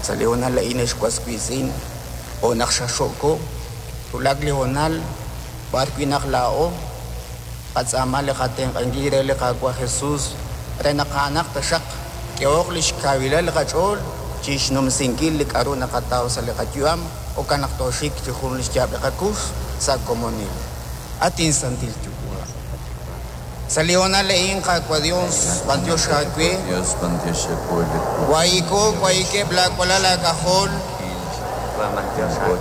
Sa' li hoonal a'in, ex was wiitz'in, jo' naq xaxo'ko, wulak li hoonal b'ar wi' naq laa'o qatz'aama li qatenq'ankil re li Qaawa' Jesus re naq a'anaq taxaq k'ehoq lix kawilal li qach'ool chixnumsinkil li k'a'ru naqataw sa' li qayu'am, jo'kan naq tooxik chi jun lix yaab' li qakux sa' komonil. At inSantil Yuwa'. Sa' li hoonal a'in, Qaawa' Dios, b'antiox aawe. Wahi'ko, wahikeb' laa walal aak'ajol,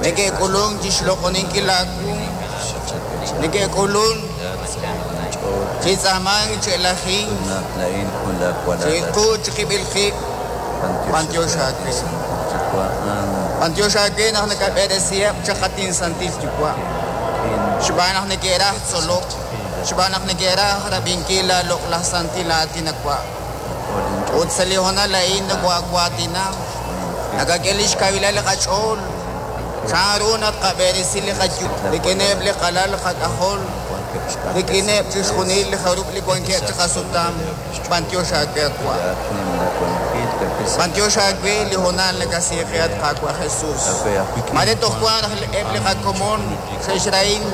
neke'k'ulunk chixloq'oninkil aawu, neke'k'ulunk chi tz'aamank, chi elajink, chiqu chiqib'il qib', b'antiox aawe. B'antiox aawe naq nakab'eresiheb' chaq at inSantil Yuwa', xb'aan naq neke'raj tzolok. Xb'aan naq neke'raj rab'inkil laa loq'laj santil aatin awa'. Ut sa' li hoonal a'in noko'awaatina, nakak'e lix kawilal li qach'ool, chan ru naq tqab'eresi li qayu'am rik'ineb' li qalal qak'ajol, rik'ineb' chixjunil li jarub' li wankeb' chiqasutam. B'antiox aawe awa'. B'antiox aawe li hoonal nakasiiqe at Qaawa' Jesus. Maare toj wank raj eb' li qakomon xe'xrahin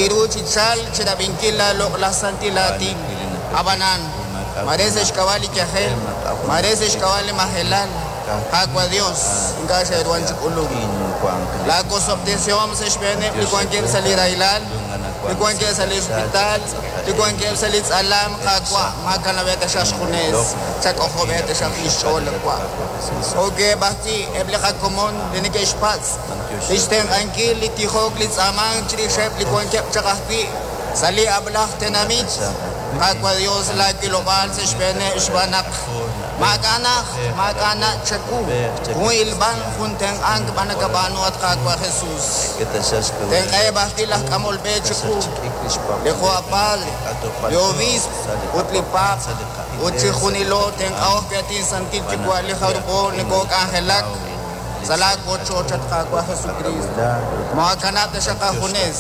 iru chi chalk chirab'inkil laa loq'laj santil aatin. Ab'anan, maare sa' xk'ab'a' li yajel, maare sa' xk'ab'a' li majelal, Qaawa' Dios, ink'a' xe'ruhan chi k'ulunk. Laa wosob'tesihom sa' xb'eeneb' li wankeb' sa' li rahilal, li wankeb' sa' li hospital, li wankeb' sa' li tz'alam, Qaawa', maakanab'eb' taxaq xjunes, chak'ojob'eb' taxaq lix ch'ool, Qaawa'. Jo'keb' ajwi' eb' li qakomon li neke'xpatz' lix tenq'ankil li tijok li tz'aamank chirixeb' li wankeb' chaq ajwi' sa' li ab'laj tenamit, Qaawa' Dios, laa wilob'aal sa' xb'eeneb' xb'aan naq maak'a' najt, maak'a' nach' chawu, jun ilb'al, jun tenq'ank b'an nakab'aanu, at Qaawa' Jesus. Tenq'aheb' ajwi' laj k'amol b'e chiqu, li jo' padre, li obiisp, ut li paap, ut chijunilo tenq'aho ajwi' at inSantil Yuwa' li jarub'o nokok'anjelak sa' laa wochoch, at Qaawa' Jesukristo. Moohakanab' taxaq aajunes,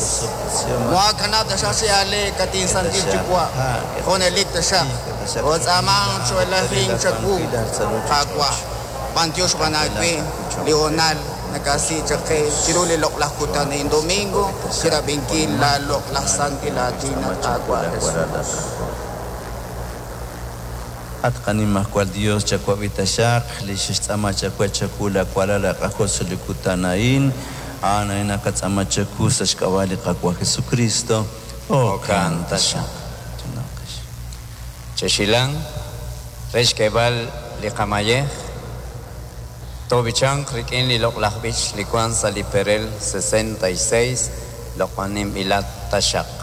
moohakanab' taxaq chi aaleek, at inSantil Yuwa', junelik taxaq. Kootz'aamank cho'elajink chawu, Qaawa', b'antiox b'an aawe li hoonal nakasi chaq qe chiru li loq'laj kutan a'in domingo chirab'inkil laa loq'laj santil aatin, at Qaawa' Jesus. At qaNimajwal Dios, chawab'i taxaq li xe'xtz'aama chawe chawu laawalal aak'ajol sa' li kutan a'in. A'an a'in naqatz'aama chawu sa' xk'ab'a' li Qaawa' Jesukristo. Jo'kan taxaq. Chexilan re xk'eeb'al li qamayej, toob'ichanq rik'in li loq'laj b'ich li wank sa' li perel 66, Loq'oninb'ilat taxaq.